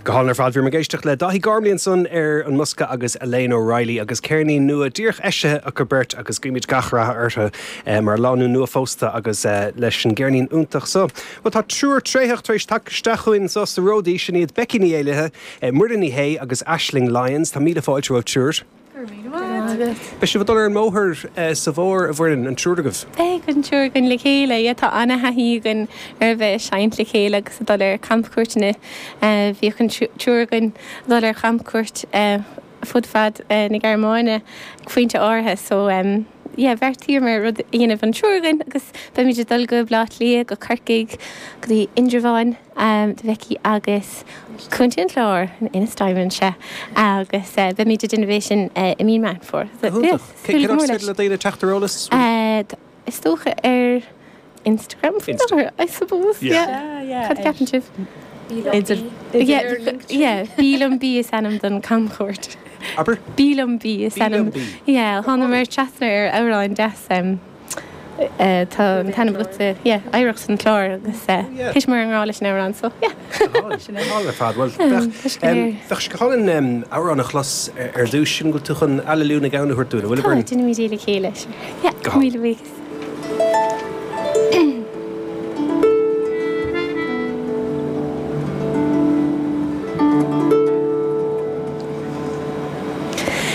Go hálainn ar fad. Bhíomar ag éisteacht le Dáithí Gormley ansan ar an mbosca agus Elaine O'Reilly agus ceirnín nua díreach eisithe acu beirt agus guímid gach rath orthu mar lánúin nua-phósta agus leis an gceirnín iontach so. Bhuel tá triúr tréitheach tar éis teacht isteach chugainn anso sa Ródaí, sin iad Becky Ní Éallaithe, Muireann Ní Shé agus Aisling Lyons. Tá míle fáilte romhaibh triúr. Go raibh míle maith agat. Beidh sibh ag dul ar an mbóthar sa bhfómhar, a Mhuireann, an triúr agaibh? Beidh an triúr againn le chéile, yeah. Tá ana-thaithí againn ar a bheith ag seinnt le chéile agus ag dul ar camchuairteanna. Bhíodh an triúr againn ag dul ar chamchuairt fud fad na Gearmáine ag pointe áirithe so yeah, bheartaíomar rud a dhéanamh an triúr againn agus beimid ag dul go Baile Átha Cliath, go Corcaigh, go dtí Indreabhán. do Bheicí agus Contae an Chláir, Ennistymon, sea, agus beimid ag déanamh é sin i mí Meán Fómhair. Go hiontach. Cén áit is féidir le daoine teacht ar eolas? Is dócha ar Instagram faoi láthair, I suppose, yeah. Cad a cheapann sibh? Idir, yeah, Bí Liom Bí is ainm don camchuairt. Abair? Bí Liom Bí is ainm. Bí Liom Bí. Yeah, thánamar trasna ar amhrán deas. Tá an t-ainm agatsa, yeah, Oidhreacht an Chláir agus thiteamar i ngrá leis an amhrán so, yeah. Go hálainn ar fad. Bhuel, bheadh sé go hálainn amhrán a chlos ar dtús. Sin go bhfuil tú chun Aililiú na gCeann a thabhairt dúinn, an bhfuil, a Mhuireann? Tá, déanfaimid é le chéile, sure. Yeah, míle buíochas.